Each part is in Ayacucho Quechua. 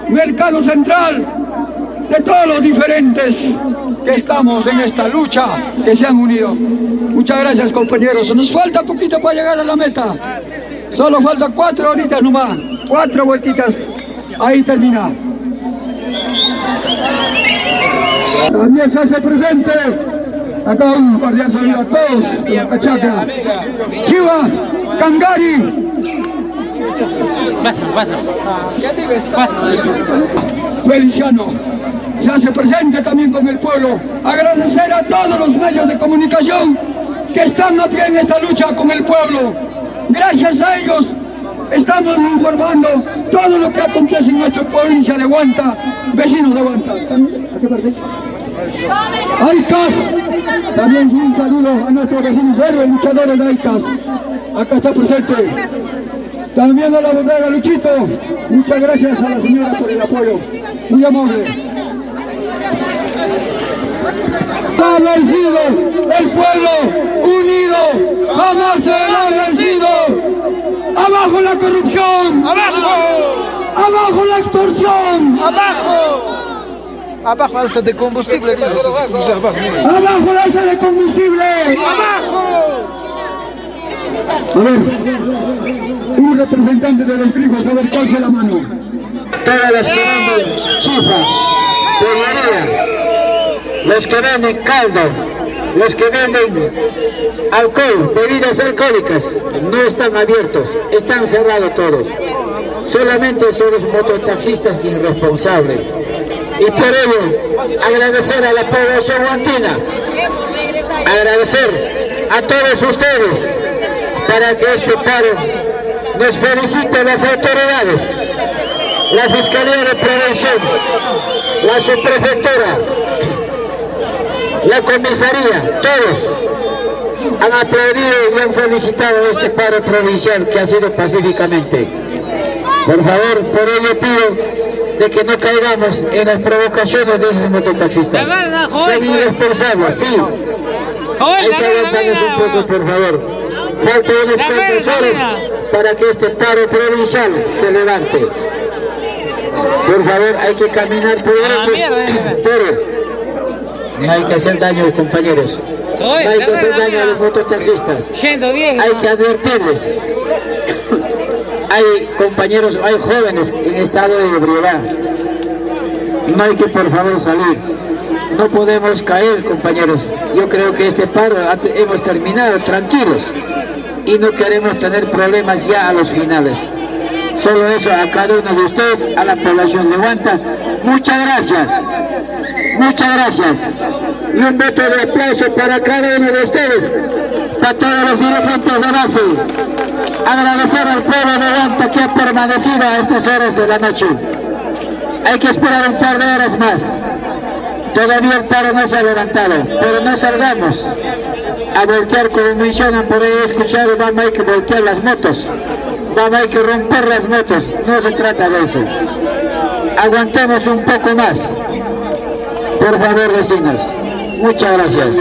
Mercado Central, de todos los diferentes que estamos en esta lucha, que se han unido. Muchas gracias, compañeros. Nos falta poquito para llegar a la meta. Solo falta 4 horitas nomás, 4 vueltitas. Ahí termina. También se hace presente. Acá un cordial saludo a todos de la Cachaca. Chiva, Cangari. Feliciano se hace presente también con el pueblo. Agradecer a todos los medios de comunicación que están a pie en esta lucha con el pueblo. Gracias a ellos estamos informando todo lo que acontece en nuestra provincia de Huanta, vecinos de Huanta. ¿A qué parte? Aicas, también un saludo a nuestros vecinos héroes, luchadores de Aicas. Acá está presente. También a la bodega Luchito. Muchas gracias a la señora por el apoyo. Muy amable. Ha vencido el pueblo unido, jamás será vencido. ¡Abajo la corrupción! ¡Abajo! ¡Abajo la extorsión! ¡Abajo! ¡Abajo alza de combustible! ¡Abajo la alza de combustible! ¡Abajo! A ver, un representante de los grifos, a ver, pase la mano. Todas las que venden chifa, pollería, los que venden caldo, los que venden alcohol, bebidas alcohólicas, no están abiertos, están cerrados todos. Solamente son los mototaxistas irresponsables. Y por ello, agradecer a la población huantina, agradecer a todos ustedes para que este paro nos felicite las autoridades, la Fiscalía de Prevención, la Subprefectura, la comisaría, todos han aplaudido y han felicitado este paro provincial que ha sido pacíficamente. Por favor, por ello pido de que no caigamos en las provocaciones de esos mototaxistas. Son irresponsables, sí. Hay que aguantarles un poco, por favor. Faltan unas cuantas horas para que este paro provincial se levante. Por favor, hay que caminar por grupos, pero no hay que hacer daño a los compañeros, no hay que hacer daño a los mototaxistas, hay que advertirles. Hay compañeros, hay jóvenes en estado de ebriedad, no hay que por favor salir, no podemos caer, compañeros. Yo creo que este paro hemos terminado tranquilos y no queremos tener problemas ya a los finales. Solo eso a cada uno de ustedes, a la población de Huanta, muchas gracias. Muchas gracias. Y un voto de aplauso para cada uno de ustedes, para todos los dirigentes de base. Agradecer al pueblo de Huanta que ha permanecido a estas horas de la noche. Hay que esperar un par de horas más. Todavía el paro no se ha levantado, pero no salgamos a voltear como mencionan por ahí, he escuchado, vamos, hay que voltear las motos, vamos, hay que romper las motos. No se trata de eso. Aguantemos un poco más. Por favor, vecinos. Muchas gracias.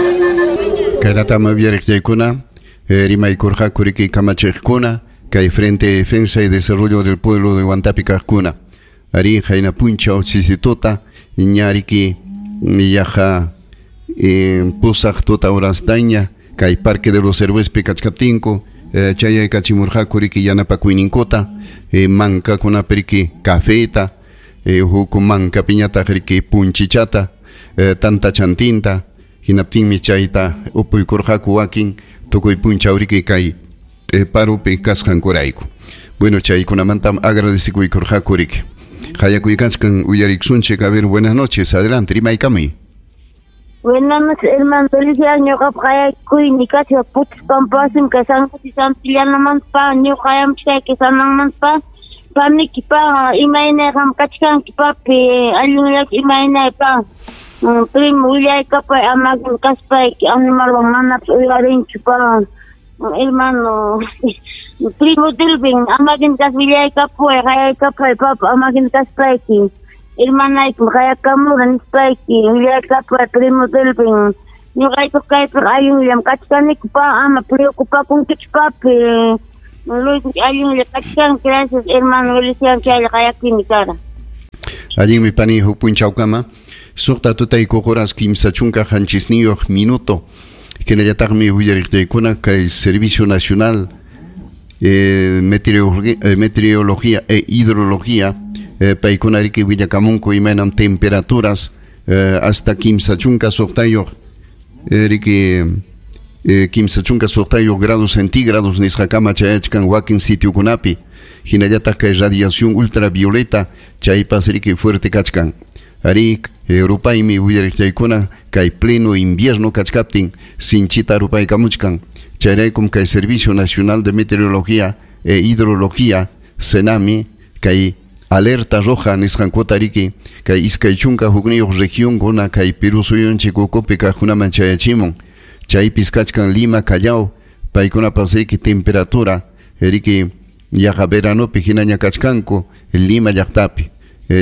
Kayratama uyariqchaykuna, rimaykurqaku riki kamachiqkuna, kay Frente de Defensa y Desarrollo del Pueblo de Huantapi kaqkuna. Ari hayna punchaw chisituta, ñariki yaqa pusaq tuta horastaña, kay Parque de los Héroespi kachkaptinku, chayaykachimurqaku riki yanapakuyninkuta, mankakunapi riki cafeta, huk mankapiñataq riki punchichata, tanta chantinta, hinaptinmi chayta upuykurqaku wakin tukuy punchaw riki kay parupi kasqankurayku. Bueno, chaykunamantam agradecikuykurqaku riki. Hayakuykanchkan uyariksunchik. A ver, buenas noches, adelante, rimaykamuy. Buenas noches, hermano Feliciano, ñuqapa qayakuyni kasqa putispampasim kay San José Santillanamanta, ñuqayamchkayki Sananmanta, paniki pa, imaynayqam kachkanki papi, allinllachu imaynay pa, primo willaykapay amagin kaspayki, animalwan manapas uyarinchu pa, hermano, primo Dilvin, amagin kas willaykapuway, qayaykapay papa, amagin kaspayki. Hermanaykim qayakamura nispayki, willaykapay primo Delvin. Ñuqayku kaypiqa allinllam kachkaniku pa, ama preocupakunkichu papi. Luis allinlla kachkan, gracias hermano Feliciano, chaylla qayakuymi kara. Allinmi pani huk punchawkama. Suqta tutaykuq horas 37 minuto. Hinallataqmi willariqtaykuna kay Servicio Nacional Meteorología e Hidrología paykuna riki willakamunku imaynam temperaturas hasta 36 riki 36 grados centígrados nisqakama chayachkan wakin sitiokunapi. Hinallataq kay radiación ultravioleta chaypas riki fuerte kachkan. Ari rupaymi willariqtaykuna kay pleno invierno kachkaptin sinchita rupaykamuchkan. Chayraykum kay Servicio Nacional de Meteorología e Hidrología SENAMI kay alerta roja nisqankuta riki kay 21 región kuna kay Perú suyunchik ukupi kaqkunaman chayachimun. Chaypis kachkan Lima, Callao, paykunapas riki temperatura riki yaqa veranopi hinaña kachkanku Lima llaqtapi.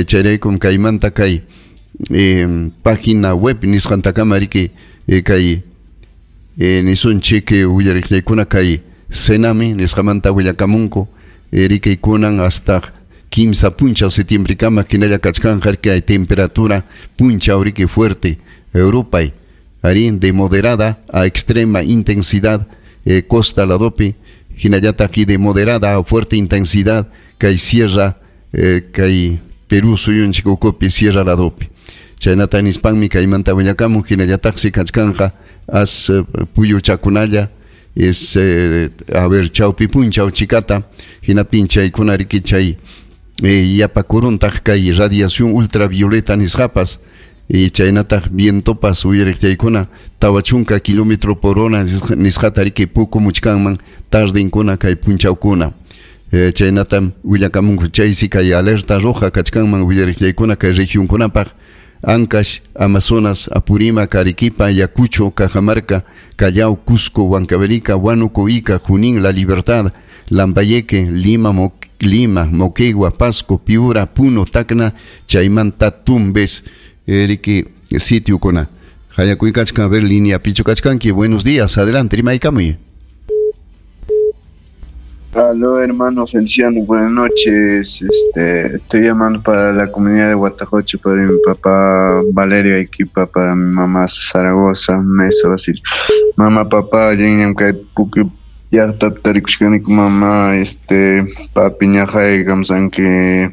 Chayraykum kaymanta kay página web nisqantakama riki kay nisunchik willariqllaykuna kay SENAMI nisqamanta willakamunku riki kunan hasta 15 punchaw septiembrekama hinalla kachkanqa riki hay temperatura punchaw riki fuerte rupay ari de moderada a extrema intensidad costa ladopi hinallataq de moderada a fuerte intensidad kay sierra kay Perú suyunchik ukupi sierra ladopi. Chaynata nispanmi kaymanta willakamun hinallataqsi kachkanqa as puyuchakunalla es a ver chawpi punchaw chikata hinaptin chaykuna riki chay yapakuruntaq kay radiación ultravioleta nisqapas y chaynataq vientopas uyariqchaykuna 40 kilómetro por hora nisqata riki pukumuchkanman tardinkuna kay punchawkuna. Chaynatam willakamunku chaysi kay alerta roja kachkanman willariqchaykuna kay regionkunapaq Ancash, Amazonas, Apurímac, Arequipa, Ayacucho, Cajamarca, Callao, Cusco, Huancavelica, Huánuco, Ica, Junín, La Libertad, Lambayeque, Lima, Moquegua, Pasco, Piura, Puno, Tacna, Chaymanta, Tumbes, riki sitiokuna. Hayakuykachkan, a ver, línea pichu kachkanki. Buenos días, adelante, rimaykamuy. Aló, hermano Feliciano, buenas noches. Estoy llamando para la comunidad de Huatacoche, para mi papá Valerio Equipa, para mi mamá Zaragoza, Mesa Basil. Mamá, papá, mamá, papi ñajay, gamsanque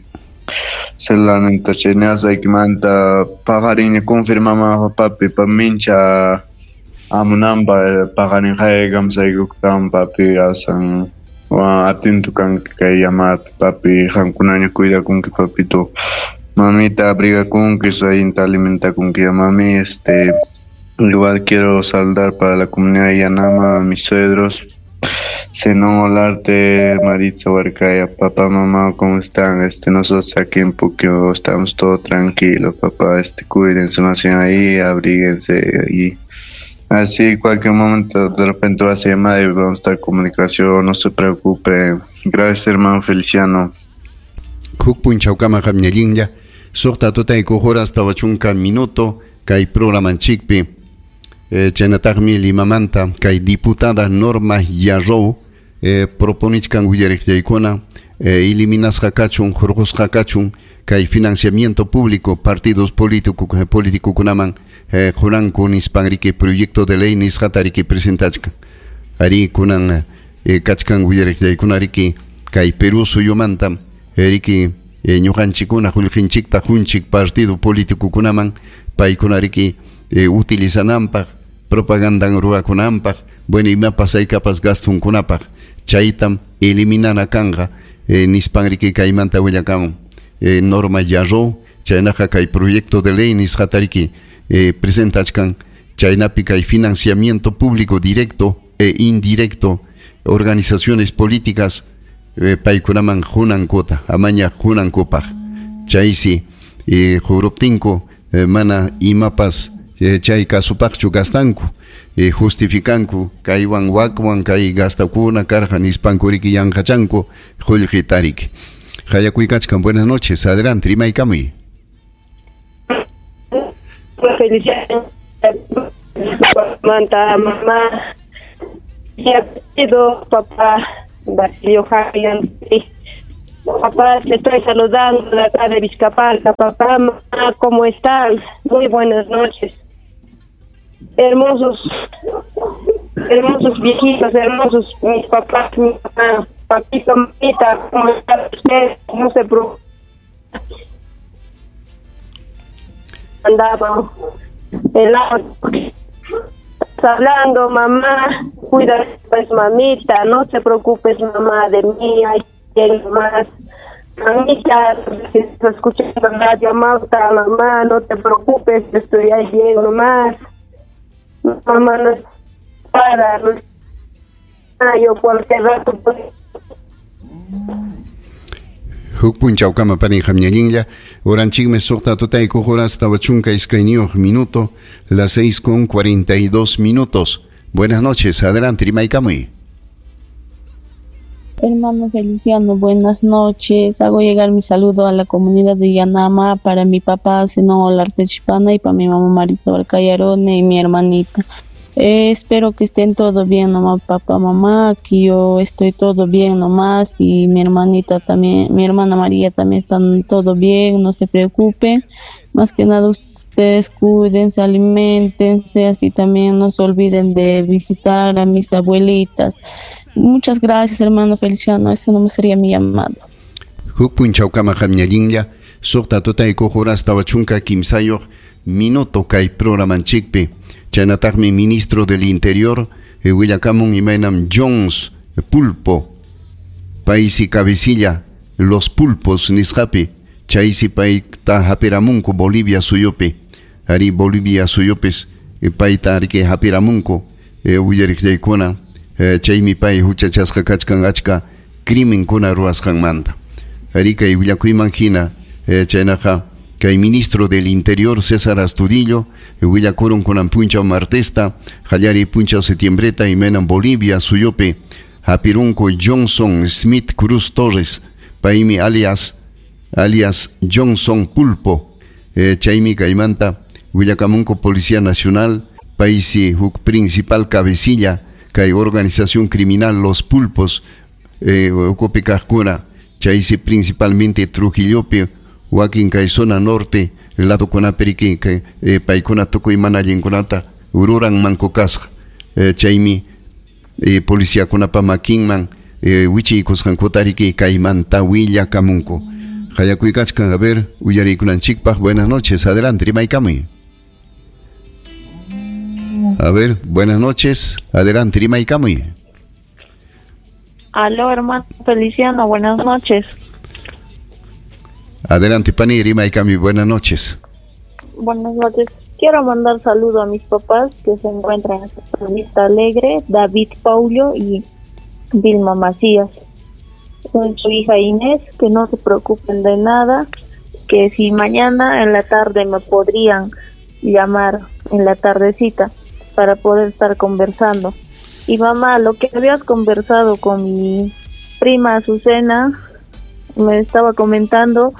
celularnenta cheñasa ikimanta paqarin confirmama papi pa mincha amunamba paqarin jay gamsaykuktan papi asan atento kanki kay llamada papi qamkunaña cuidakunki papito mamita abrigakunki allinta alimentakunki mami. Igual quiero saludar para la comunidad de Yanama a mis suegros Zenón Olarte, Maritza Huarcaya, papá, mamá, ¿cómo están? Nosotros aquí en Puquio estamos todo tranquilo, papá, cuídense más bien ahí, abríguense y así cualquier momento de repente va a ser llamada y vamos a estar en comunicación, no se preocupe. Gracias, hermano Feliciano. Huk punchawkama qamñallinlla, suqta tutaykuq horas 40 minuto kay programanchikpi. Chaynataqmi Limamanta kay diputada Norma Yarrow proponichkan willariqllaykuna eliminasqa kachun hurqusqa kachun kay financiamiento público partidos políticokunaman quranku nispan riki proyecto de ley nisqata riki presentachkan. Ari kunan kachkan willariqllaykuna riki kay Perú suyumanta riki ñuqanchikkuna qullqinchikta qunchik partido políticokunaman paykuna riki utilizananpaq propagandan ruwakunanpaq bueno imapas haykapas gastunkunapaq chaytam eliminana kanqa nispan riki kaymanta willakamun Norma Yarrow chaynaqa kay proyecto de ley nisqata riki presentachkan chaynapi kay financiamiento público directo e indirecto organizaciones políticas paykunaman qunankuta amaña qunankupaq chaysi quruptinku mana imapas chay kasupaqchu gastanku justificanku kaywan wakwan kay gastakuna karqa nispanku riki yanqachanku qullqita riki. Hayakuykachkan, buenas noches, adelante, rimaykamuy. Manta mamá papá Basilio Javier. Papá, te estoy saludando de acá de Vizcapalca. Papá, mamá, ¿cómo están? Muy buenas noches. Hermosos, hermosos viejitos, hermosos mis papás, mi mamá, papito, mamita, ¿cómo están ustedes? No se preocupen. Andaba el audio. Estás hablando, mamá, cuídate, pues, mamita, no te preocupes, mamá, de mí, hay quien más. Mamita, si estás escuchando Radio Amauta, mamá, no te preocupes, estoy ahí bien nomás. Mamá, no es para, no es yo cualquier rato pues. Huk punchawkama pani qamñallinlla uranchikmi suqta tutaykuq horas tawa chunka iskayniyuq minuto, las 6:42 minutos. Buenas noches, adelante, rimaykamuy. Hermano Feliciano, buenas noches. Hago llegar mi saludo a la comunidad de Yanama, para mi papá Zenón Olarte Chipana y para mi mamá Maritza Barcayarone y mi hermanita. Espero que estén todo bien nomás, papá, mamá. Aquí yo estoy todo bien nomás y mi hermanita también, mi hermana María también están todo bien, no se preocupen. Más que nada ustedes cuídense, aliméntense, así también no se olviden de visitar a mis abuelitas. Muchas gracias, hermano Feliciano, eso no me sería mi llamado. Huk punchawkama qamñallinlla, suqta tutaykuq horas tawa chunka kimsayuq minuto kay programanchikpi. Chaynataqmi ministro del Interior, willakamun imaynam Jones Pulpo, paysi cabecilla los pulpos nisqapi, chaysi payta hapiramunku Bolivia suyupi, ari Bolivia suyupis payta ariki hapiramunku, willariqllaykuna, chaymi pay huchachasqa kachkan achka crimenkuna ruwasqanmanta. Ari kay willakuyman hina, chaynaqa kay ministro del Interior César Astudillo, willakurun kunan punchaw martesta, qallariy punchaw setiembreta imaynam Bolivia suyupi hapirunku Johnson Smith Cruz Torres, paymi alias Johnson Pulpo, chaymi kaymanta willakamunku Policía Nacional, paysi huk principal cabecilla kay organización criminal Los Pulpos, ukupi kaqkuna, chaysi principalmente Trujillopi, wakin kay zona norte ladokunapi kay paykuna tukuy mana allinkunata ruran manku kasqa, chaymi policiakunapa makinman wichiykusqankuta riki kaymanta willakamunku. Qallakuykachkan, a ver, uyariykunanchikpaq. Buenas noches, adelante, rimaykamuy. A ver, buenas noches, adelante, rimaykamuy. Aló, hermano Feliciano, buenas noches. Adelante, pani, rimaykami, buenas noches. Buenas noches. Quiero mandar saludo a mis papás que se encuentran en Vista Alegre, David Paulio y Vilma Macías. Soy su hija Inés, que no se preocupen de nada, que si mañana en la tarde me podrían llamar en la tardecita para poder estar conversando. Y mamá, lo que habías conversado con mi prima Azucena, me estaba comentando,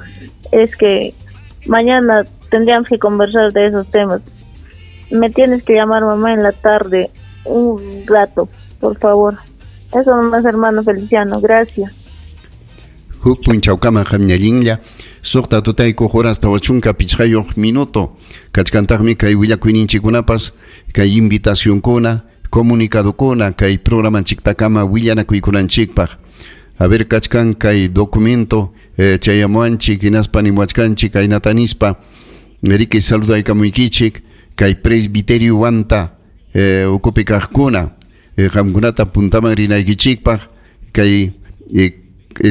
es que mañana tendríamos que conversar de esos temas. Me tienes que llamar, mamá, en la tarde, un rato, por favor. Eso nomás, hermano Feliciano, gracias. Huk punchawkama qamñallinlla, suqta tutaykuq horas tawa chunka pichqayuq minuto. Kachkantaqmi kay willakuyninchikkunapas, kay invitacionkuna, comunicadokuna, kay programanchiktakama willanakuykunanchikpaq. A ver, kachkan kay documento, chayamuanchik, hinaspa nimuachkanchik, kaynata nispa, riki saludaykamuykichik, kay presbiterio wanta, ukupi kaqkuna, qamkunata puntaman rinaykichikpaq, kay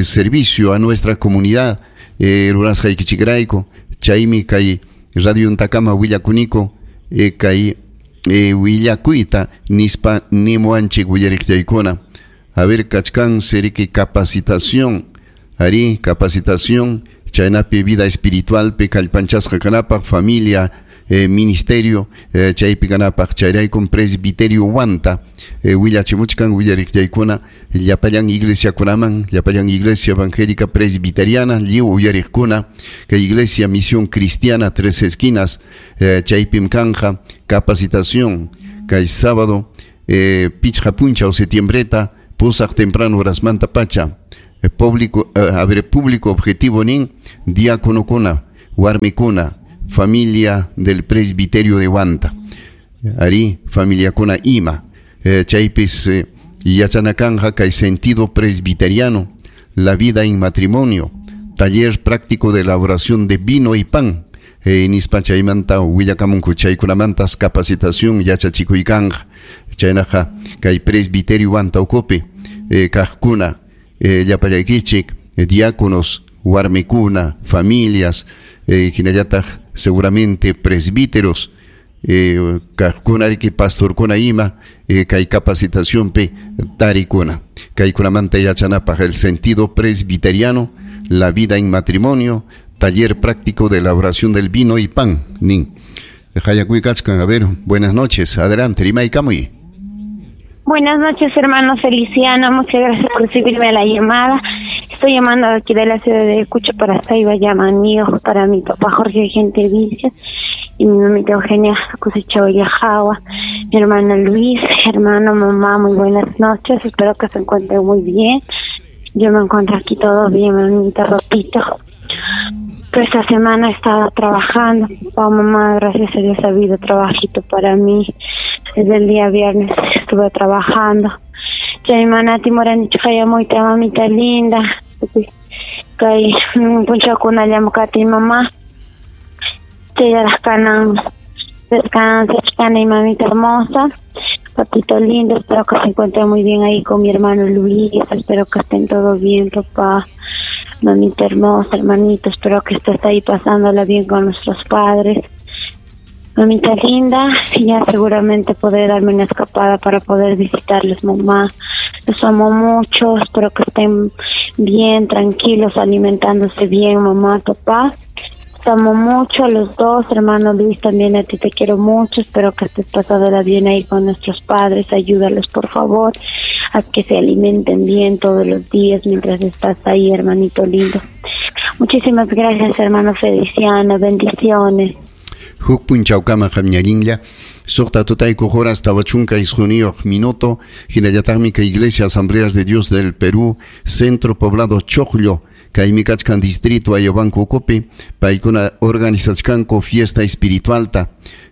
servicio a nuestra comunidad, rurasqaykichikrayku, chaymi kay radio ntakama willakuniko, kay willakuyta nispa nimuanchik willariqllaykuna. A ver, kachkan seriki capacitación, ari capacitación, chaynapi vida espiritual, pe kallpanchasqa kanapaq, familia, ministerio, chaypi kanapaq, chayraykum presbiterio wanta, willachimuchkan willariqllaykuna, llapallan iglesiakunaman, llapallan iglesia evangélica presbiteriana, lliw uyariqkuna, kay iglesia misión cristiana Tres Esquinas, chaypim kanja, capacitación, kay sábado, pichqa punchaw setiembreta, pusaq temprano horasmanta pacha, Público, a ver, público objetivo nin diáconokuna, warmikuna, familia del presbiterio de Huanta. Ari, familiakuna ima. Chaypis yachanakanja kay sentido presbiteriano, la vida en matrimonio, taller práctico de elaboración de vino y pan. Nispa chaymanta willakamunku chaykunamantas capacitación yachachikuykanja. Chaynaqa kay presbiterio Huanta ukupi kaqkuna, llapallaykichik, diáconos, warmikuna, familias, hinallataq seguramente presbíteros, kaqkuna riki pastorkuna ima, kay capacitacionpi tarikuna. Kaykunamanta yachanapaq el sentido presbiteriano, la vida en matrimonio, taller práctico de elaboración del vino y pan. Nin. Hayakuykachkan, a ver, buenas noches, adelante, rimaykamuy. Buenas noches, hermano Feliciano, muchas gracias por recibirme a la llamada. Estoy llamando aquí de la ciudad de Ayacucho para Saiba Yamanio, para mi papá Jorge Gente Vilches y mi mamita Eugenia Cosecha Yajawa, mi hermano Luis, hermano, mamá, muy buenas noches, espero que se encuentren muy bien. Yo me encuentro aquí todo bien, mamita, papito. Pero esta semana he estado trabajando. Papá, mamá, gracias a Dios ha habido trabajito para mí. Desde el día viernes estuve trabajando. Chaymanati moranichqaya muyta mamita linda. Kay punchawkuna llamkati mamá. Chayraq kanan descansachkani mamita hermosa. Papito lindo, espero que se encuentren muy bien ahí con mi hermano Luis. Espero que estén todos bien, papá. Mamita hermosa, hermanito, espero que estés ahí pasándola bien con nuestros padres. Mamita linda, ya seguramente podré darme una escapada para poder visitarles, mamá. Los amo mucho, espero que estén bien, tranquilos, alimentándose bien, mamá, papá. Los amo mucho a los dos, hermano Luis, también a ti te quiero mucho. Espero que estés pasándola bien ahí con nuestros padres. Ayúdalos, por favor, a que se alimenten bien todos los días mientras estás ahí, hermanito lindo. Muchísimas gracias, hermano Feliciano. Bendiciones. Huk punchawkama qamñallinlla suqta tutaykuq horas tawa chunka isquniyuq minuto hinallataqmi kay Iglesia Asambleas de Dios del Perú, Centro Poblado Choclo, kaymi kachkan distrito Ayabanco ukupi, paykuna organizachkanku fiesta espiritualta.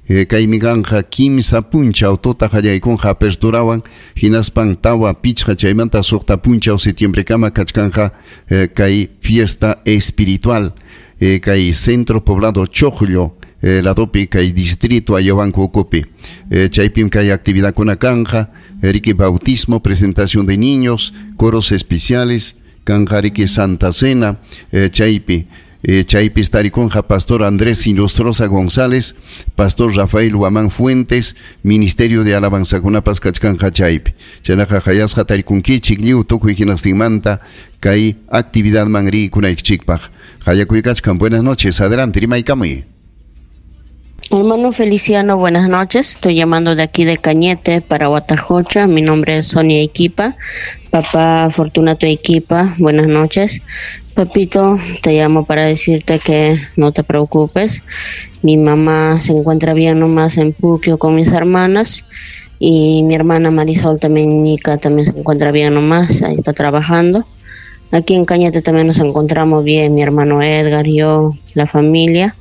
Kaymi kanja kimsa punchaw tuta qallaykunqa aperturawan hinaspan tawa pichqa chaymanta suqta punchaw septiembrekama kachkanja kay fiesta espiritual, kay Centro Poblado Choclo, ladopi kay distrito Ayabanco ukupi. Chaypim kay actividadkuna kanja, riki bautismo, presentación de niños, coros especiales, kanja riki Santa Cena, chaypi. Chaypi tarikunja Pastor Andrés Inostroza González, Pastor Rafael Huamán Fuentes, Ministerio de Alabanzakunapas kachkanja chaypi. Chaynaqa hayasqa tarikunkichik lliw tukuy hinastinmanta kay actividad man rikunaykichikpaq. Hayakuykachkan, buenas noches, adelante, rimaykamuy. Hermano Feliciano, buenas noches. Estoy llamando de aquí de Cañete para Huatajocha. Mi nombre es Sonia Equipa. Papá Fortunato Equipa, buenas noches. Papito, te llamo para decirte que no te preocupes. Mi mamá se encuentra bien nomás en Puquio con mis hermanas. Y mi hermana Marisol también, Nica, también se encuentra bien nomás. Ahí está trabajando. Aquí en Cañete también nos encontramos bien, mi hermano Edgar, yo, la familia.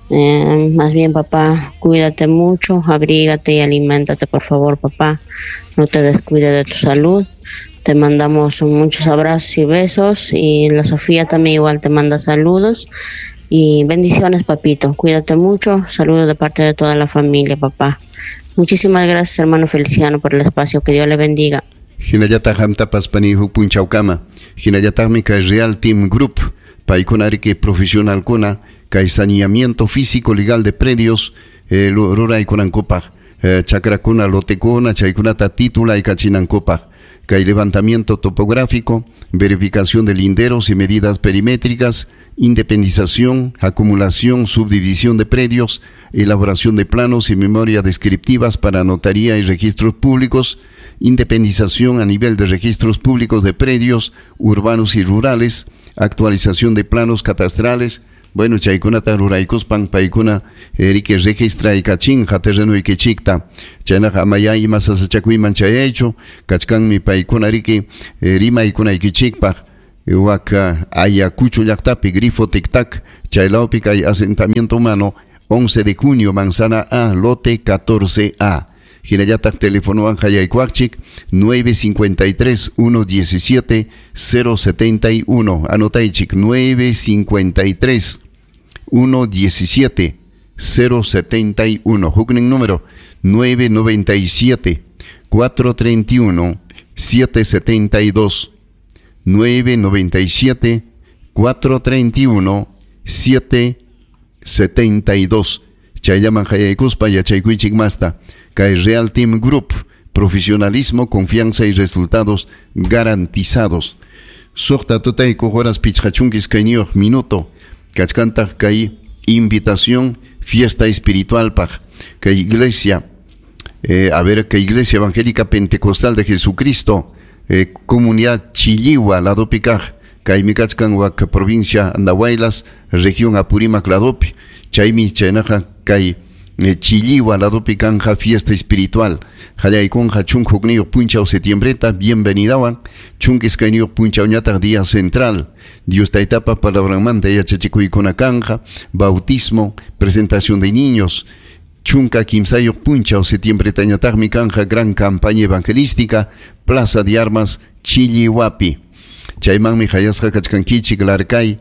Más bien, papá, cuídate mucho, abrígate y aliméntate, por favor, papá. No te descuides de tu salud. Te mandamos muchos abrazos y besos. Y la Sofía también igual te manda saludos. Y bendiciones, papito. Cuídate mucho. Saludos de parte de toda la familia, papá. Muchísimas gracias, hermano Feliciano, por el espacio. Que Dios le bendiga. Hinallataq hamtapas pani huk punchawkama. Hinallataqmi kay Real Team Group, paykuna riki profesionalkuna kay saneamiento físico legal de predios, ruraykunankupaq, chakrakuna, lotekuna, chaykunata titulaykachinankupaq, kay levantamiento topográfico, verificación de linderos y medidas perimétricas, independización, acumulación, subdivisión de predios, elaboración de planos y memoria descriptivas para notaría y registros públicos, independización a nivel de registros públicos de predios urbanos y rurales, actualización de planos catastrales. Bueno, chaykunata ruraykuspan paykuna riki registraykachinqa terrenuykichikta. Chaynaqa amaya ima sasachakuyman chayaychu, kachkanmi paykuna riki rimaykunaykichikpaq. Wak Ayacucho llaqtapi Grifo Tic-Tac, chaylawpi kay asentamiento humano 11 de junio, Manzana A, lote 14A. Hinallataq telefonowan hayaykuwaqchik 953 117 071. Anotaychik 953 117 071. Huknin número 997 431 772. 997 431 772. Chayllaman hayaykuspa yachaykuychik masta. Kay Real Team Group, profesionalismo, confianza y resultados garantizados. Suqta tutayku horas pichqa chunka iskayniyuq minuto. Kachkantaq kay invitación fiesta espiritual paq. Kay iglesia, a ver, kay Iglesia Evangélica Pentecostal de Jesucristo, comunidad Chilliwa, ladopi kaq, kaymi kachkan wak provincia Andahuaylas, región Apurímac ladopi. Chaymi chaynaqa kay Chilliwa ladopi kanja fiesta espiritual. Qallaykunqa 11 punchaw septiembreta, bienvenidawan, 12 punchawñataq día central. Dios taytapa palabranmanta yachachikuykuna kanja, bautismo, presentación de niños. 13 punchaw septiembretañataqmi kanja gran campaña evangelística, Plaza de Armas, Chilliwapi. Chaymanmi hayasqa kachkankichik Larcay,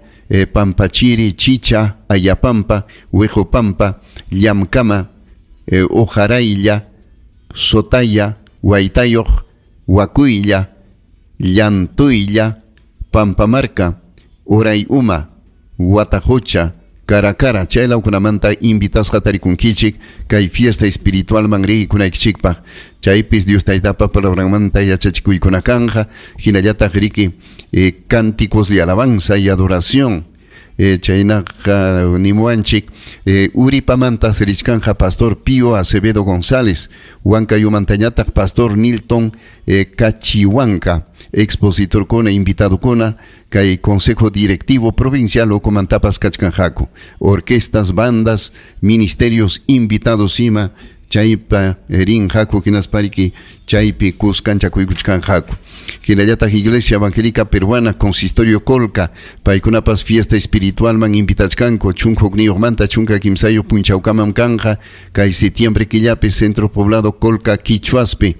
Pampachiri, Chicha, Ayapampa, Huejopampa, Llamkama, Ojaraylla, Sotaya, Huaytayoq, Huacuylla, Llantuylla, Pampamarca, Urayuma, Huatajocha, Caracara, chaylawkunamanta invitasqa tarikunkichik kay fiesta espiritualman riykunaykichikpaq. Chaypis Dios taytapa palabranmanta yachachikuykuna kanja, hinallataq riki cánticos de alabanza y adoración. Chaynaqa nimuwanchik Uripamanta richkanja Pastor Pío Acevedo González, Huancayumantañataq Pastor Nilton Cachihuanca, expositorkuna, invitadokuna, kay Consejo Directivo Provincial ukumantapas kachkanjaku, orquestas, bandas, ministerios invitados ima, chaypa rinjaku hinaspariki chaypi kuskanchakuykuchkanjaku. Hinallataq Iglesia Evangélica Peruana, Consistorio Colca, paykunapas fiesta espiritualman invitachkanku, 11manta 13 punchawkamam kanja, kay septiembre killapi Centro Poblado Colca Quichuaspi.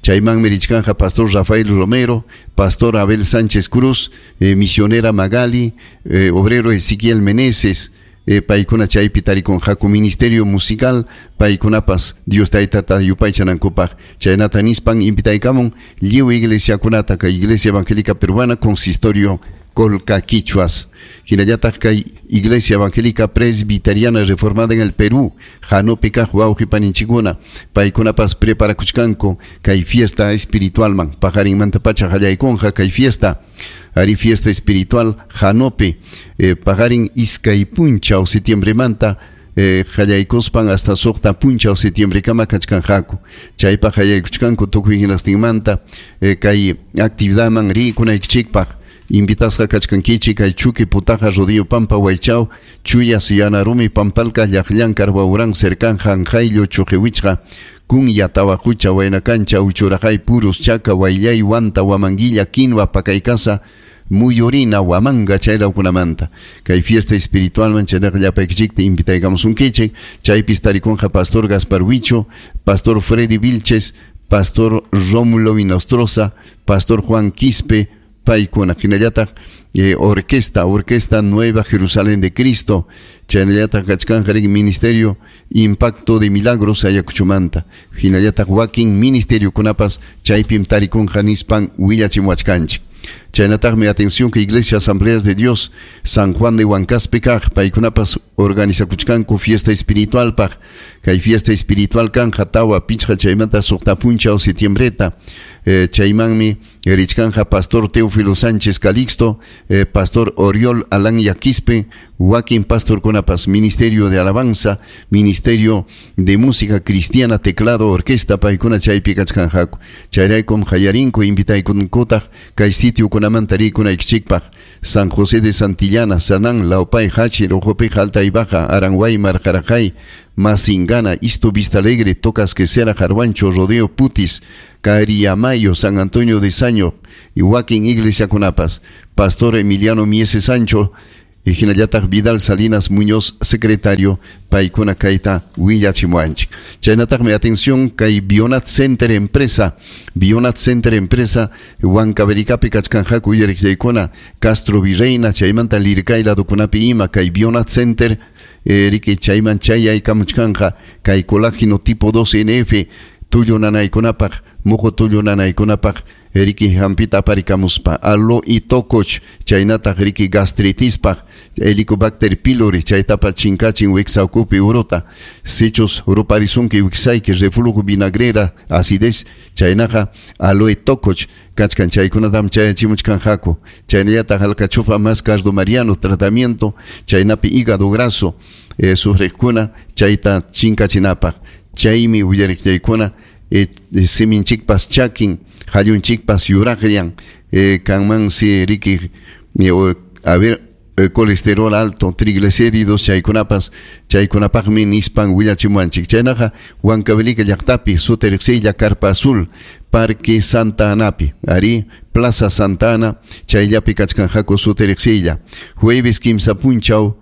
Chaymanmi richkanja Pastor Rafael Romero, Pastor Abel Sánchez Cruz, misionera Magali, obrero Ezequiel Meneses, paykuna chaypi tarikunqaku ministerio musical, paykunapas Dios taytata yupaychanankupaq. Chaynata nispan invitaykamun lliw iglesiakunata kay Iglesia Evangélica Peruana, Consistorio Colca Quichuas. Hinallataq kay Iglesia Evangélica Presbiteriana Reformada en el Perú, Hanopi kaq wawqi paninchikuna, paykunapas preparakuchkanku kay fiesta espiritualman, paqarinmanta pacha qallaykunqa kay fiesta. Ari fiesta espiritual Hanopi, paqarin iskay punchaw septiembremanta, qallaykuspan hasta suqta punchaw septiembrekama kachkanqaku. Chaypaq qallaykuchkanku tukuy hinastinmanta, kay actividadman rikunaykichikpaq. Invitasqa kachkankichik kay Chuqui Putaja Rodillo Pampa Waychaw, Chuyas Yanarumi Pampalka Llaqllankar Wawran Cercán Janjayllo Chuqiwichqa, Kunya Tawaqucha Waynakancha Uchuraqay Purus Chaka Wayllay Wanta Huamanguilla Quinua Pakaykasa Muyurina Huamanga chaylawkunamanta. Kay fiesta espiritualman chaynaqa llapaykichikta invitaykamusunkichik. Chaypis tarikunqa Pastor Gaspar Huicho, Pastor Freddy Vilches, Pastor Rómulo Inostroza, Pastor Juan Quispe, paykuna. Hinallataq orquesta Nueva Jerusalén de Cristo, chaynallataq kachkanja riki Ministerio Impacto de Milagros Ayacuchumanta. Hinallataq wakin ministerio kunapas chaypim tarikunqa nispan willachimuwachkanchik. Chaynataqmi atención que Iglesia Asambleas de Dios San Juan de Huancaspe kaq paykunapas organizakuchkanku fiesta espiritualpaq. Kay fiesta espiritual kanja tawa pichqa chaymanta suqta punchaw septiembreta. Chaymanmi richkanja Pastor Teófilo Sánchez Calixto, Pastor Oriol Alán Yaquispe, wakin pastorkunapas Ministerio de Alabanza, Ministerio de Música Cristiana, Teclado, Orquesta, paykuna chaypi kachkanjaku. Chayraykum qallarinku invitaykunkutaq kay sitiokunamanta rikunaykichikpaq. San José de Santillana, Sanán, Laupay, Hachi, Rojopi, Jalta Huantaray Baja, Aranguaymar, Jarajay, Masingana, Isto Vista Alegre, Tocas Quesera, Jarwancho, Rodeo, Putis, Cariamayo, San Antonio de Saño, y Joaquín Iglesia Cunapas, Pastor Emiliano Miese Sancho, hinallataq Vidal Salinas Muñoz, secretario, paykuna kayta willachimuwanchik. Chaynataqmi atención kay Bionat Center empresa, Bionat Center empresa, Huancavelicapi kachkanqaku uyariqllaykuna, Castro Virreina, chaymanta Lircay ladokunapi ima, kay Bionat Center, riki chayman chayaykamuchkanqa, kay colágeno tipo 2 NF, tullu nanaykunapaq, muqu tullu nanaykunapaq, riki hampita aparikamuspa, alo y tokoch, chaynataq riki gastritispaq, Helicobacter pylori, chaytapa chinkachin wiksawkupi uruta, sichus ruparisunki wiksayki, reflujo vinagrera, acidez, chaynaqa aloe tokoch, kachkan chaykunatam chayachimuchkanqaku, chaynallataq alcachofa más cardo mariano, tratamiento, chaynapi hígado graso, sufriqkuna, chayta chinkachinapaq, chaymi willariqllaykuna, siminchikpas chakin, hallunchikpas yuraqllan, kanmansi riki, a ver, colesterol alto, triglicéridos, chaykunapas, chaykunapaqmi nispan willachimuwanchik. Chaynaqa Huancavelica llaqtapi, Suteriqsilla, Carpa Azul, Parque Santa Anapi, ari Plaza Santa Ana, chayllapi kachkanqaku Suteriqsilla. Jueves kimsa punchaw,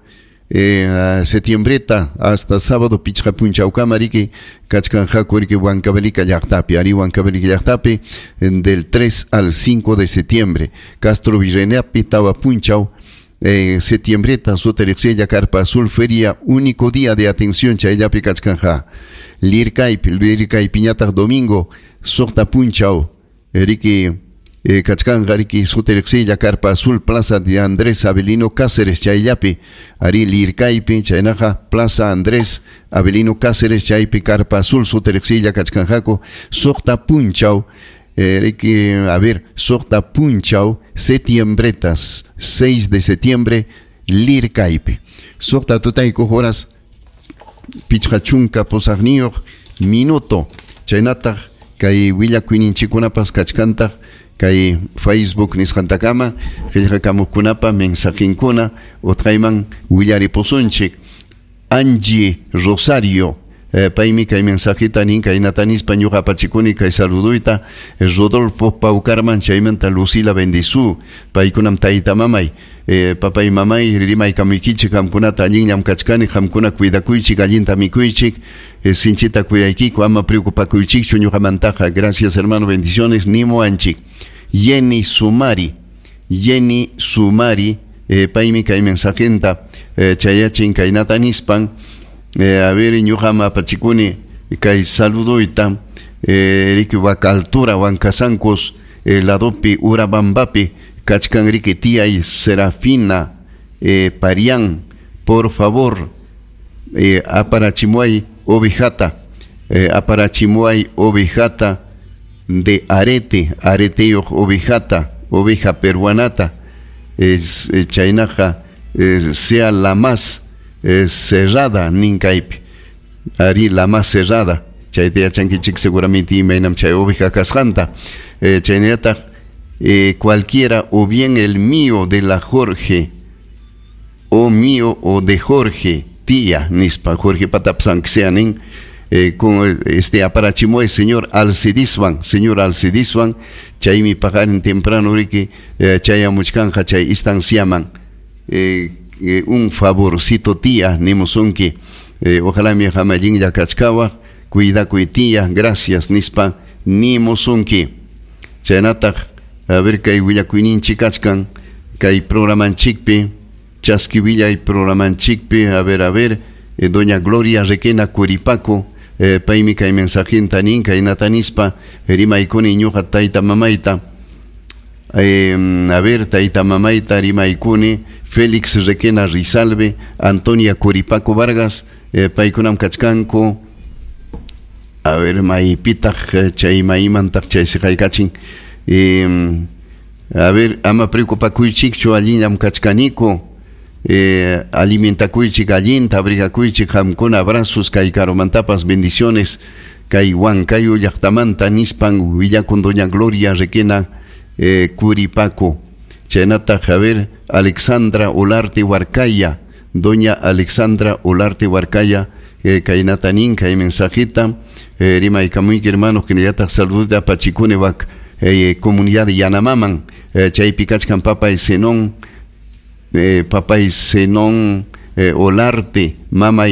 septiembreta hasta sábado pichqa punchawkama riki kachkanqaku riki Huancavelica llaqtapi, ari Huancavelica llaqtapi del 3 al 5 de septiembre. Castro Virreinapi tawa punchaw, septiembreta Suteriqsilla, Carpa Azul, feria, único día de atención chayllapi kachkanja. Lircaypi, Lircaypiñataq domingo, suqta punchaw, riki kachkanja riki Suteriqsilla, Carpa Azul, Plaza de Andrés Avelino Cáceres chayllapi, ari Lircaypi, chaynaqa Plaza Andrés Avelino Cáceres chaypi, Carpa Azul, Suteriqsilla kachkanqaku, suqta punchaw, riki, a ver, suqta punchaw, septiembretas, 6 de septiembre, Lircaypi. Suqta tutaykuq horas, pichqa chunka pusaqniyuq minuto, chaynataq kay willakuyninchikkunapas kachkantaq, kay Facebook nisqantakama, qillqakamuqkunapa mensajinkuna, utqayman willaripusunchik. Angie Rosario, paymi kay mensajita nin kaynata nispa ñuqa apachikuni kay saluduyta, Rodolfo Paucarman, chaymanta Lucila Bendizú, paykunam tayta mamay, papay mamay rimaykamuykichik qamkunata allinllam kachkani, qamkuna cuidakuychik, allinta mikuychik, sinchita cuidaykiku, ama preocupakuychikchu ñuqamantaqa. Gracias hermano, bendiciones, nimuwanchik. Jenny Sumari, Jenny Sumari, paymi kay mensajenta, chayachin kaynata nispan, a ver, ñuqam apachikuni kay saluduyta, riki waka altura, Huancasancos, ladopi, Urabambapi, kachkan riki tiyay Serafina, Parián, por favor, aparachimuay ovejata, aparachimuay ovejata de arete, areteyuq ovejata, oveja peruanata, chaynaqa, sea la más cerrada ninkaypi, ari la más cerrada, chayta yachankichik seguramente imaynam chay oveja kasqanta, chaynallataq, cualquiera o bien el mío de la Jorge, o mío o de Jorge, tía, nispa, Jorge patapsan sea nin, con este aparachimuay señor Alcidiswan, señor Alcidiswan, chaymi paqarin temprano riki, chayamuchkanja chay istanciaman, un favorcito tía, nimusunki, ojalá mi hama allinlla kachkawa, cuidakuy tía, gracias nispa, nimusunki. Chaynataq, a ver kay willakuyninchik kachkan, kay programanchikpi, chaski willay programanchikpi, a ver, doña Gloria Requena Curipaco, paymi kay mensajinta nin, kaynata nispa, rimaykuni ñuqa tayta mamayta, a ver, tayta mamayta rimaykuni, Félix Requena Rizalve, Antonia Curipaco Vargas, paykunam kachkanku, a ver, maypitaq, chay maymantaq chay siqaykachin, a ver, ama preocupakuychikchu allinllam kachkaniku, alimentakuychik allinta, abrigakuychik qamkuna, abrazos kay karumantapas, bendiciones, kay Huancayo llaqtamanta nispan willakun doña Gloria Requena, Curipaco. Chaynataq, a ver, Alexandra Olarte Huarcaya, Doña Alexandra Olarte Huarcaya, kaynata nin kay mensajita, rimaykamuyki hermanos, hinallataq saludos apachikuni wak comunidad Yanamaman, chaypi kachkan papay Zenón, papay Zenón Olarte, mamay.